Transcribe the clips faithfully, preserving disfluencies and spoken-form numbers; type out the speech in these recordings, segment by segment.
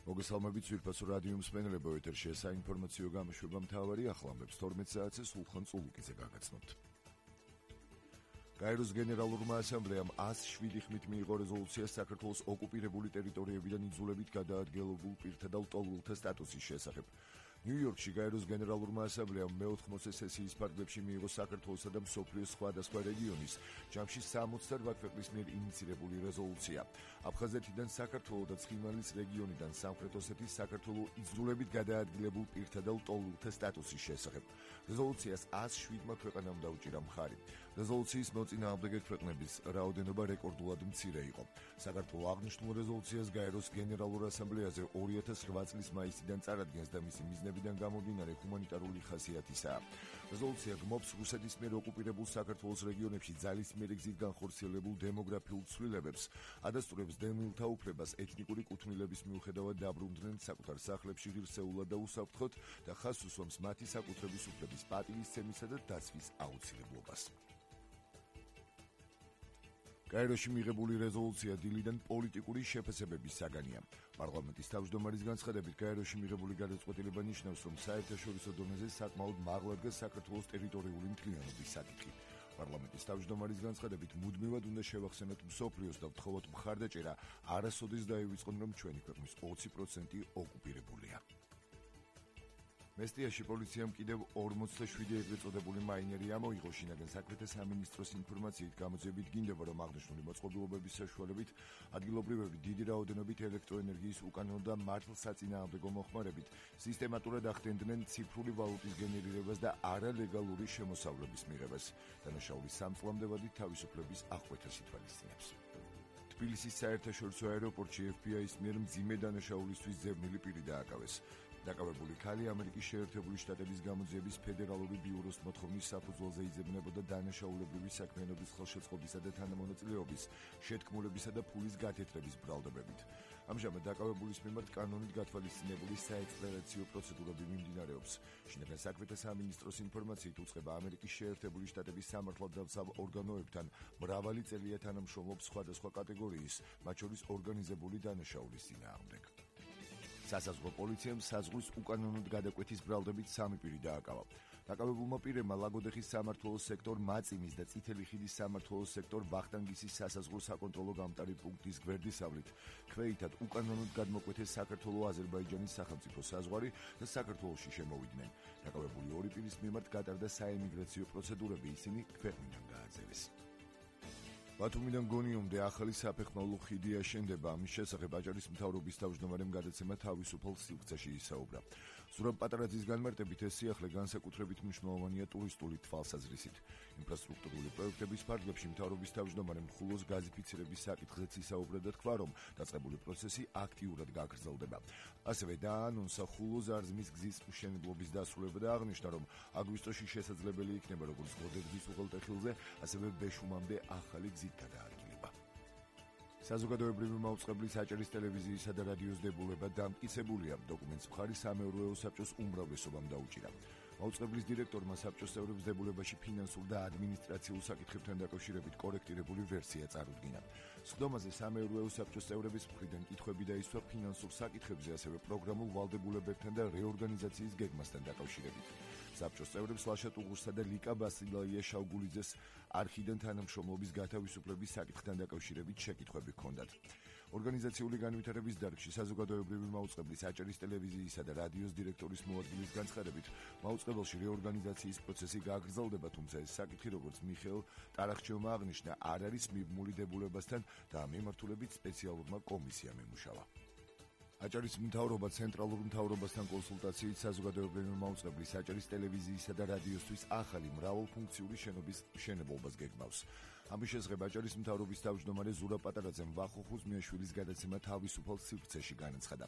მოგესალმებით ძვირფასო რადიო მსმენელებო, ეთერშია საინფორმაციო გამოშვება მთავარი ახლამებს თორმეტ საათზე სულხან წულუკიძე გაგაცნობთ. გაეროს გენერალურმა ასამბლეამ ას შვიდი ხმით მიიღო რეზოლუცია საქართველოს ოკუპირებული ტერიტორიებიდან იძულებით გადაადგილებულ პირთა და ლტოლვილთა სტატუსის შესახებ. ნიუ-იორკში გაეროს გენერალურმა ასამბლეამ მეოთხმოცე სესიის ფარგლებში მიიღო საქართველოსა და მსოფლიოს სხვადასხვა რეგიონის, ჯამში სამოცდაოთხ ქვეყნის მიერ ინიცირებული რეზოლუცია. აფხაზეთიდან საქართველოს და ცხინვალის რეგიონიდან სამხრეთ ოსეთის საქართველოს იძულებით გადაადგილებულ პირთა და ლტოლვილთა სტატუსის შესახებ. რეზოლუციას ას შვიდმა ქვეყანამ დაუჭირა მხარი. რეზოლუციის მოწინააღმდეგე ქვეყნების რაოდენობა რეკორდულად მცირე იყო. საქართველოს აღნიშნულ რეზოლუციას გაეროს გენერალურ ასამბლეაზე ორი ათას რვა წლის მაისიდან წარადგენს და მისი მიზნებიდან გამომდინარე ჰუმანიტარული ხასიათისაა. რეზოლუცია გმობს რუსეთის მიერ ოკუპირებულ საქართველოს რეგიონებში ძალისმიერი გზით განხორციელებულ დემოგრაფიულ ცვლილებებს, ადასტურებს დევნილთა უფლებას ეთნიკური კუთვნილების მიუხედავად დაბრუნდნენ საკუთარ სახლებში ღირსეულად და უსაფრთხოდ და ხაზს უსვამს მათი საკუთრების უფლების პატივისცემისა და დაცვის აუცილებლობას. გაეროში მიღებული რეზოლუცია დილიდან პოლიტიკური შეფასებების საგანია. პარლამენტის თავმჯდომარის განცხადებით, გაეროში მიღებული გადაწყვეტილება ნიშნავს, რომ საერთაშორისო დონეზე საკმაოდ მაღლა დგას საქართველოს ტერიტორიული მთლიანობის საკითხი. პარლამენტის თავმჯდომარის განცხადებით, მუდმივად უნდა შევახსენოთ მსოფლიოს და ვთხოვოთ მხარდაჭერა არასოდეს დაივიწყონ, რომ ჩვენი ქვეყნის ოცი პროცენტი ოკუპირებულია. მესტიაში პოლიციამ კიდევ ორმოცდაშვიდი ეგრეთ წოდებული მაინერი ამოიღო. შინაგან საქმეთა სამინისტროს ინფორმაციით გამოძიებით გინდება, რომ აღნიშნული მოწყობილობების საშუალებით ადგილობრივები დიდი რაოდენობით ელექტროენერგიის უკანონო და მართლსაწინააღმდეგო მოხმარებით სისტემატურად ახდენდნენ ციფრული ვალუტის გენერირებას და არალეგალური შემოსავლების მიღებას. დანაშაულის სამწლამდე თავისუფლების აღკვეთას ითვალისწინებს. თბილისის საერთაშორისო აეროპორტში ეფ ბი აის მიერ მძიმე დანაშაულისთვის ძებნილი პირი დააკავეს. დაკავებული ქალი ამერიკის შეერთებული შტატების გამოძიების ფედერალური ბიუროს მოთხოვნის საფუძველზე იძებნებოდა დანაშაულებრივი საქმიანობის ხელშეწყობისა და თანამონაწილეობის, შეთქმულებისა და ფულის გათეთრების ბრალდებებით. ამჟამად დაკავებულის მიმართ კანონით გათვალისწინებული საექსტრადიციო პროცედურები მიმდინარეობს. შინაგან საქმეთა სამინისტროს ინფორმაციით უწყება ამერიკის შეერთებული შტატების სამართალდამცავ ორგანოებთან მრავალი წელია თანამშრომლობს სხვადასხვა კატეგორიის, მათ შორის ორგანიზებული დანაშაულის წინააღმდეგ. სასაზღვრო პოლიციამ საზღვრის უკანონოდ გადაკვეთის ბრალდებით სამი პირი დააკავა. დაკავებულმა პირებმა ლაგოდეხის სამმართველოს სექტორ მაწიმის და წითელი ხიდის სამმართველოს სექტორ ვახტანგისის სასაზღვრო საკონტროლო გამტარი პუნქტის გვერდისავლით ქვეითად უკანონოდ გადმოკვეთეს საქართველო-აზერბაიჯანის სახელმწიფო საზღვარი და საქართველოში შემოვიდნენ. დაკავებული ორი პირის მიმართ გატარდა საიმიგრაციო პროცედურები, ისინი ქვეყნიდან გააძევეს. ბათუმიდან გონიომდე ახალი საფეხმავლო ხიდი აშენდება. ამის შესახებ აჭარის მთავრობის თავმჯდომარემ გადაცემა თავისუფალ სივრცეში ისაუბრა. ზურაბ პატარაძის განმარტებით, ეს სიახლე განსაკუთრებით მნიშვნელოვანია ტურისტული თვალსაზრისით. ინფრასტრუქტურული პროექტების ფარგლებში მთავრობის თავმჯდომარემ ხულოს გაზიფიცირების საკითხზეც ისაუბრა და თქვა, რომ დაწყებული პროცესი აქტიურად გაგრძელდება. ასევე დაანონსა ხულოს აზმის გზის მშენებლობის დასრულება და აღნიშნა, რომ აგვისტოში შესაძლებელი იქნება როგორც გოდერძის უღელტეხილზე, ასევე ბეშუმამდე ახალი გზის გადაადგილება. საზოგადოებრივი მაუწყებლის აჭარის ტელევიზიისა და რადიოს დებულება დამტკიცებულია. დოკუმენტს მხარი სამეურვეო საბჭოს უმრავლესობამ დაუჭირა. მაუწყებლის დირექტორმა საბჭოს წევრებს დებულებაში ფინანსურ და ადმინისტრაციულ საკითხებთან დაკავშირებით კორექტირებული ვერსია წარუდგინა. სხდომაზე სამეურვეო საბჭოს წევრების მხრიდან კითხვები დაისვა ფინანსურ საკითხებზე, ასევე პროგრამულ ვალდებულებებთან და რეორგანიზაციის გეგმასთან დაკავშირებით. საბჭოს წევრებს ლაშა ტუღურსა და ლიკა ბასილაია შავგულიძეს არხიდან თანამშრომლობის გათავისუფლების საკითხთან დაკავშირებით შეკითხვები ჰქონდათ. ორგანიზაციული განვითარების დარგში საზოგადოებრივი მაუწყებლის აჭარის ტელევიზიისა და რადიოს დირექტორის მოადგილის განცხადებით, მაუწყებელში რეორგანიზაციის პროცესი გაგრძელდება, თუმცა ეს საკითხი, როგორც მიხეილ ტარახჩევმა აღნიშნა, არ არის მიბმული დებულებასთან და ამ მიმართულებით სპეციალურმა კომისიამ ემუშავა. აჭარის მთავრობა ცენტრალურ მთავრობასთან კონსულტაციით საზოგადოებრივი მაუწყებლის აჭარის ტელევიზიისა და რადიოსთვის ახალი მრავალფუნქციური შენობის მშენებლობას გეგმავს. ამის შესახებ აჭარის მთავრობის თავმჯდომარე ზურაბ პატარაძემ ვახო ხუზმიაშვილის გადაცემა თავისუფალ სივრცეში განაცხადა.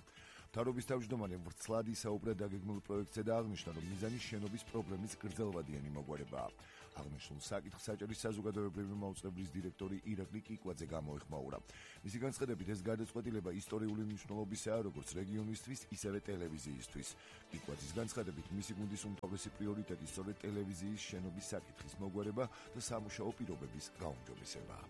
მთავრობის თავმჯდომარემ ვრცლად ისაუბრა დაგეგმილ პროექტზე და აღნიშნა, რომ მიზანი შენობის პრობლემის გრძელვადიანი მოგვარებაა. აღნიშნულ საკითხს აჭარის საზოგადოებრივი მაუწყებლის დირექტორი ირაკლი კიკვაძე გამოეხმაურა. მისი განცხადებით, ეს გადაწყვეტილება ისტორიული მნიშვნელობისაა როგორც რეგიონისთვის, ისევე ტელევიზიისთვის. კიკვაძის განცხადებით, მისი გუნდის უმთავრესი პრიორიტეტი სწორედ ტელევიზიის შენობის საკითხის მოგვარება და სამუშაო პირობების გაუმჯობესებაა.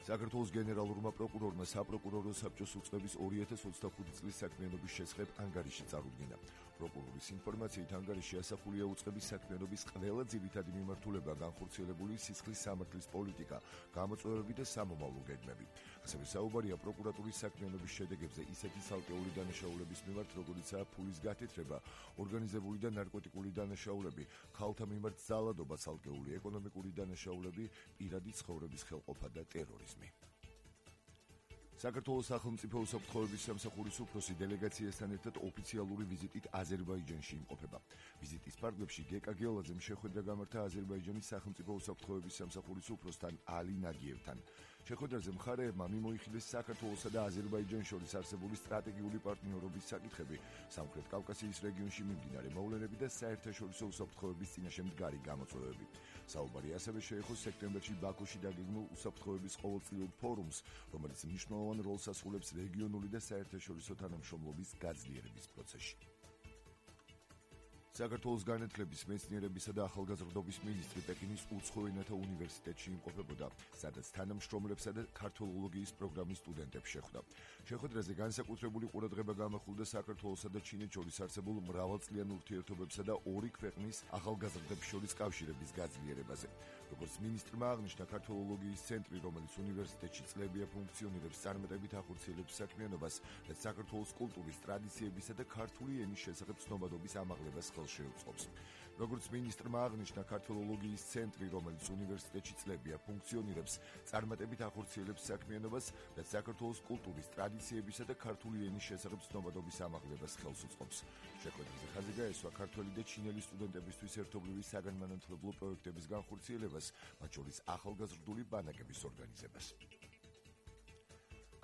საქართველოს გენერალურმა პროკურორმა საპროკურორო საბჭოს უწყების ორი ათას ოცდახუთი წლის საქმიანობის შესახებ ანგარიში წარუდგინა. პროკურორის ინფორმაციით ანგარიში ასახულია უწყების საქმიანობის ყველა ძირითადი მიმართულება, განხორციელებული სისხლის სამართლის პოლიტიკა, გამოწვევები და სამომავლო გეგმები. ასევე საუბარია პროკურატურის საქმიანობის შედეგებზე ისეთი ცალკეული დანაშაულების მიმართ, როგორიცაა ფულის გათეთრება, ორგანიზებული და ნარკოტიკული დანაშაულები, ქალთა მიმართ ძალადობა, ცალკეული ეკონომიკური დანაშაულები, პირადი ცხოვრების ხელყოფა და ტერორიზმი. საქართველოს სახელმწიფო უსაფრთხოების სამსახურის უფროსი დელეგაციასთან ერთად ოფიციალური ვიზიტით აზერბაიჯანში იმყოფება. ვიზიტის ფარგლებში გეკა გეოლაძემ შეხვედრა გამართა აზერბაიჯანის სახელმწიფო უსაფრთხოების სამსახურის უფროსთან ალი ნაგიევთან. შეხვედრაზე მხარეებმა მიმოიხილეს საქართველოსა და აზერბაიჯანს შორის არსებული სტრატეგიული პარტნიორობის საკითხები, სამხრეთ კავკასიის რეგიონში მიმდინარე მოვლენები და საერთაშორისო უსაფრთხოების წინაშე მდგარი გამოწვევები. საუბარი ასევე შეეხო სექტემბერში ბაქოში დაგეგმულ უსაფრთხოების ყოველწლიურ ფორუმს, რომელიც მნიშვნელოვან როლს ასრულებს რეგიონული და საერთაშორისო თანამშრომლობის გაძლიერების პროცესში. საქართველოს განათლების, მეცნიერებისა და ახალგაზრდობის მინისტრი პეკინის უცხო ენათა უნივერსიტეტში იმყოფებოდა, სადაც თანამშრომლებსა და ქართველოლოგიის პროგრამის სტუდენტებს შეხვდა. შეხვედრაზე განსაკუთრებული ყურადღება გამახვილდა საქართველოსა და ჩინეთს შორის არსებულ მრავალწლიან ურთიერთობებსა და ორი ქვეყნის ახალგაზრდების შორის კავშირების გაძლიერებაზე. როგორც მინისტრმა აღნიშნა, ქართველოლოგიის ცენტრი, რომელიც უნივერსიტეტში წლებია ფუნქციონირებს, წარმატებით ახორციელებს საქმიანობას, რაც საქართველოს კულტურის, ტრადიციებისა და ქართული ენის შესახებ ცნობადობის ამაღლებას შეუწყობს. როგორც მინისტრმა აღნიშნა, ქართველოლოგიის ცენტრი, რომელიც უნივერსიტეტში წლებია ფუნქციონირებს, წარმატებით ახორციელებს საქმიანობას, რაც საქართველოს კულტურის, ტრადიციებისა და ქართული ენის შესახებ ცნობადობის ამაღლებას ხელს უწყობს. შეხვედრაზე ხაზი გაესვა ქართველი და ჩინელი სტუდენტებისთვის ერთობლივი საგანმანათლებლო პროექტების განხორციელებას, მათ შორის ახალგაზრდული ბანაკების ორგანიზებას.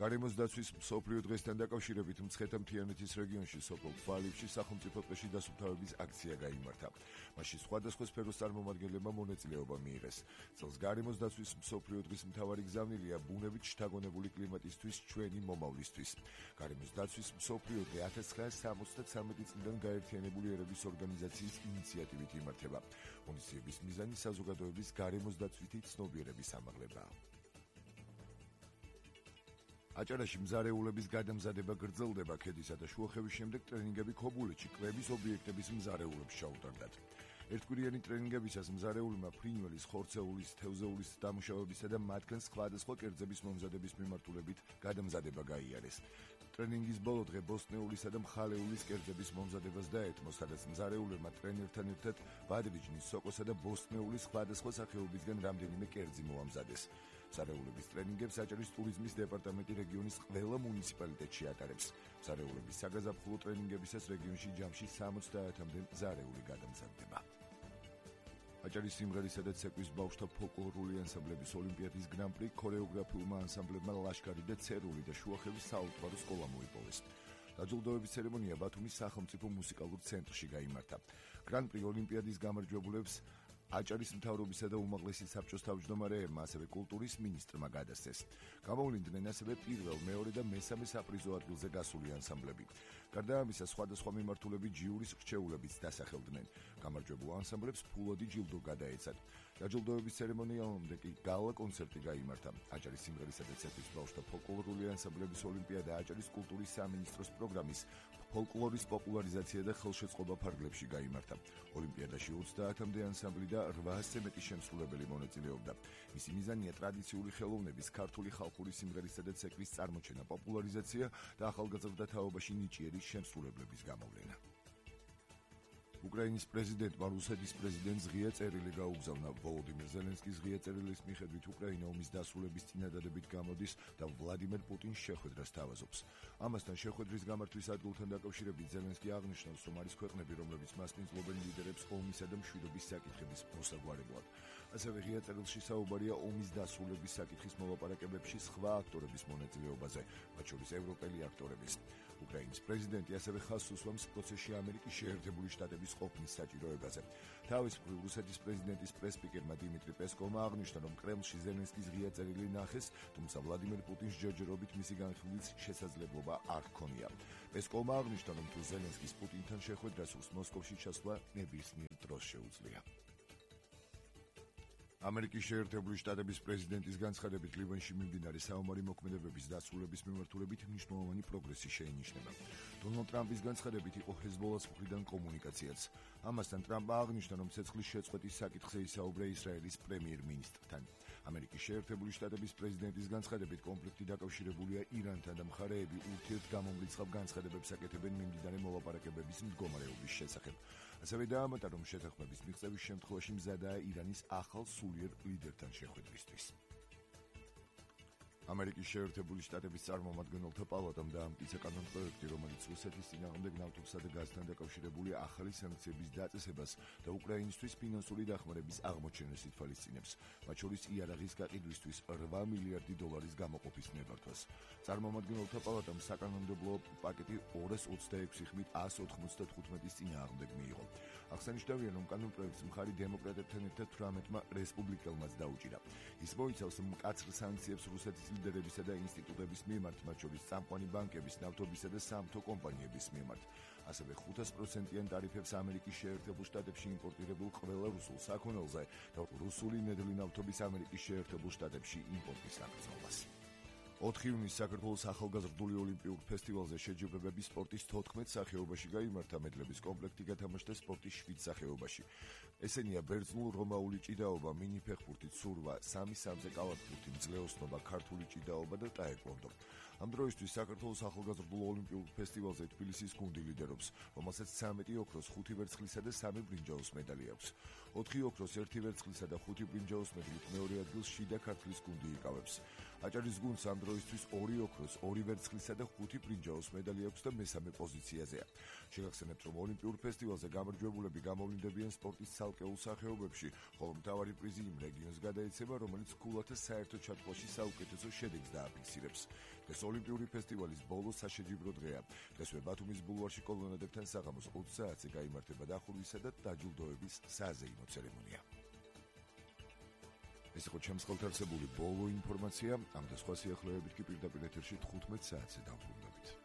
გარემოს დაცვის მსოფლიო დღესთან დაკავშირებით მცხეთა-მთიანეთის რეგიონში სოფელ თვალივში სახელმწიფო ტყეში დასუფთავების აქცია გაიმართა. მასში სხვადასხვა სფეროს წარმომადგენლებმა მონაწილეობა მიიღეს. წელს გარემოს დაცვის მსოფლიო დღის მთავარი გზავნილია ბუნებით შთაგონებული კლიმატისთვის ჩვენი მომავლისთვის. გარემოს დაცვის მსოფლიო დღე ათას ცხრაასი სამოცდათვრამეტი წლიდან გაერთიანებული ერების ორგანიზაციის ინიციატივით იმართება. ღონისძიების მიზანი საზოგადოების გარემოს დაცვითი ცნობიერების ამაღლებაა. აჭარაში მზარეულების გადამზადება გრძელდება. ქედისა და შუახევის შემდეგ ტრენინგები ქობულეთში კვების ობიექტების მზარეულებს ჩაუტარდათ. ერთკვირიანი ტრენინგებისას მზარეულმა ფრინველის, ხორცეულის, თევზეულის დამუშავებისა და მათგან სხვადასხვა კერძების მომზადების მიმართულებით გადამზადება გაიარეს. ტრენინგის ბოლო დღე ბოსტნეულისა და მხალეულის კერძების მომზადებას დაეთმო, სადაც მზარეულებმა ტრენერთან ერთად ბადრიჯნის, სოკოსა და ბოსტნეულის სხვადასხვა სახეობისგან რამდენიმე კერძი მოამზადეს. მზარეულების ტრენინგებს აჭარის ტურიზმის დეპარტამენტი რეგიონის ყველა მუნიციპალიტეტში ატარებს. მზარეულების საგაზაფხულო ტრენინგებისას რეგიონში ჯამში სამოცდაათამდე მზარეული გადამზადდება. აჭარის სიმღერისა და ცეკვის ბავშვთა ფოლკლორული ანსამბლების ოლიმპიადის გრან-პრი ქორეოგრაფიულმა ანსამბლებმა ლაშქარი და ცერული და შუახევის საალტვარო სკოლა მოიპოვეს. დაჯილდოების ცერემონია ბათუმის სახელმწიფო მუსიკალურ ცენტრში გაიმართა. გრან-პრი ოლიმპიადის გამარჯვებულებს აჭარის მთავრობისა და უმაღლესი საბჭოს თავმჯდომარეებმა, ასევე კულტურის მინისტრმა გადასცეს. გამოვლინდნენ ასევე პირველ, მეორე და მესამე საპრიზო ადგილზე გასული ანსამბლები. გარდა ამისა, სხვადასხვა მიმართულებით ჯიურის რჩეულებიც დასახელდნენ. გამარჯვებულ ანსამბლებს ფულადი ჯილდო გადაეცათ. დაჯილდოების ცერემონიალამდე კი გალა კონცერტი გაიმართა. აჭარის სიმღერისა და ცეკვის ბავშვთა ფოლკლორული ანსამბლების ოლიმპიადა აჭარის კულტურის სამინისტროს პროგრამის ფოლკლორის პოპულარიზაცია და ხელშეწყობა ფარგლებში გაიმართა. ოლიმპიადაში ოცდაათამდე ანსამბლი და რვაასზე მეტი შემსრულებელი მონაწილეობდა. მისი მიზანია ტრადიციული ხელოვნების, ქართული ხალხური სიმღერისა და ცეკვის წარმოჩენა, პოპულარიზაცია და ახალგაზრდა თაობაში ნიჭიერის შემსრულებლების გამოვლენა. უკრაინის პრეზიდენტმა რუსეთის პრეზიდენტს ღია წერილი გაუგზავნა. ვოლოდიმირ ზელენსკის ღია წერილის მიხედვით უკრაინა ომის დასრულების წინადადებით გამოდის და ვლადიმერ პუტინს შეხვედრას თავაზობს. ამასთან შეხვედრის გამართვის ადგილთან დაკავშირებით ზელენსკი აღნიშნავს, რომ არის ქვეყნები, რომლებიც მას მისდევენ ლიდერებს ომისა და მშვიდობის საკითხების მოსაგვარებლად. ასევე ღია წერილში საუბარია ომის დასრულების საკითხის მოლაპარაკებებში სხვა აქტორების მონაწილეობაზე, მათ შორის ევროპელი აქტორების. უკრაინის პრეზიდენტი ასევე ხაზს უსვამს პროცესში ამერიკის შეერთებული შტატების ყოფნის საჭიროებაზე. თავის მხრივ რუსეთის პრეზიდენტის პრესპიკერმა დიმიტრი პესკოვმა აღნიშნა, რომ კრემლში ზელენსკის ღია წერილი ნახეს, თუმცა ვლადიმერ პუტინს ჯერჯერობით მისი განხილვის შესაძლებლობა არ ჰქონია. პესკოვმა აღნიშნა, რომ თუ ზელენსკის პუტინთან შეხვედრას უსმოს მოსკოვში ჩასვლა ნებისმიერ დროს შეუძლია. ამერიკის შეერთებული შტატების პრეზიდენტის განცხადებით ლიბანში მიმდინარე საომარი მოქმედებების დასრულების მიმართულებით მნიშვნელოვანი პროგრესი შეინიშნება. დონალდ ტრამპის განცხადებით იყო ჰეზბოლას მხრიდან კომუნიკაციაც. ამასთან ტრამპმა აღნიშნა, რომ ცეცხლის შეწყვეტის საკითხზე ისაუბრა ისრაელის პრემიერ-მინისტრთან. ამერიკის შეერთებული შტატების პრეზიდენტის განცხადებით კონფლიქტი დაკავშირებულია ირანთან და მხარეები ურთიერთგამომრიცხავ განცხადებებს აკეთებენ მიმდინარე მოლაპარაკებების მდგომარეობის შესახებ. ასევე დაამატა, რომ შეთანხმების მიღწევის შემთხვევაში მზადაა ირანის ახალ სულიერ ლიდერთან შეხვედრისთვის. ამერიკის შეერთებული შტატების წარმომადგენელთა პალატამ დაამტკიცა კანონპროექტი, რომელიც რუსეთის წინააღმდეგ ნავთობსა და გაზთან დაკავშირებული ახალი სანქციების დაწესებას და უკრაინისთვის ფინანსური დახმარების აღმოჩენას ითვალისწინებს, მათ შორის იარაღის გაყიდვისთვის რვა მილიარდი დოლარის გამოყოფის ნებართვას. წარმომადგენელთა პალატამ საკანონმდებლო პაკეტი ორას ოცდაექვსი ხმით ას ოთხმოცდათხუთმეტის წინააღმდეგ მიიღო. აღსანიშნავია, რომ კანონპროექტს მხარი დემოკრატებთან ერთად თვრამეტმა რესპუბლიკელმაც დაუჭირა. ის მოიცავს მკაცრ სანქციებს რუსეთის ლიდერებისა და ინსტიტუტების მიმართ, მათ შორის წამყვანი ბანკების, ნავთობისა და სამთო კომპანიების მიმართ. ასევე ხუთას პროცენტიან ტარიფებს ამერიკის შეერთებულ შტატებში იმპორტირებულ ყველა რუსულ საქონელზე და რუსული ნედლი ნავთობის ამერიკის შეერთებულ შტატებში იმპორტის გაგრძელებას. ოთხი ივნისს საქართველოს ახალგაზრდული ოლიმპიურ ფესტივალზე შეჯიბრებები სპორტის თოთხმეტ სახეობაში გაიმართა, მედლების კომპლექტი გათამაშდა სპორტის შვიდ სახეობაში. ესენია ბერძნულ-რომაული ჭიდაობა, მინიფეხბურთი, ცურვა, სამი სამზე კალათბურთი, მძლეოსნობა, ქართული ჭიდაობა და ტაეკვონდო. ამ დროისთვის საქართველოს ახალგაზრდულ ოლიმპიურ ფესტივალზე თბილისის გუნდი ლიდერობს, რომელსაც ცამეტი ოქროს, ხუთი ვერცხლისა და სამი ბრინჯაოს მედალი აქვს. ოთხი ოქროს, ერთი ვერცხლისა და ხუთი ბრინჯაოს მედლით მეორე ადგილს შიდა ქართლის გუნდი იკავებს. აჭარის გუნდს ამ დროისთვის ორი ოქროს, ორი ვერცხლისა და ხუთი ბრინჯაოს მედალი აქვს და მესამე პოზიციაზეა. შეგახსენებთ, რომ ოლიმპიურ ფესტივალზე გამარჯვებულები გამოვლინდებიან სპორტის ცალკეულ სახეობებში, ხოლო მთავარი პრიზი იმ რეგიონს გადაეცემა, რომელიც ქულათა საერთო ჩათვლაში საუკეთესო შედეგს დააფიქსირებს. ეს ოლიმპიური ფესტივალის ბოლო საშეჯიბრო დღეა. დღესვე ბათუმის ბულვარში კოლონადებთან საღამოს ოც საათზე გაიმართება დახურვისა და დაჯილდოების საზეიმო ცერემონია. ეს იყო ჩემს ხელთ არსებული ბოლო ინფორმაცია. ამ და სხვა სიახლეებით კი პირდაპირ ეთერში თხუთმეტ საათზე დავბრუნდებით.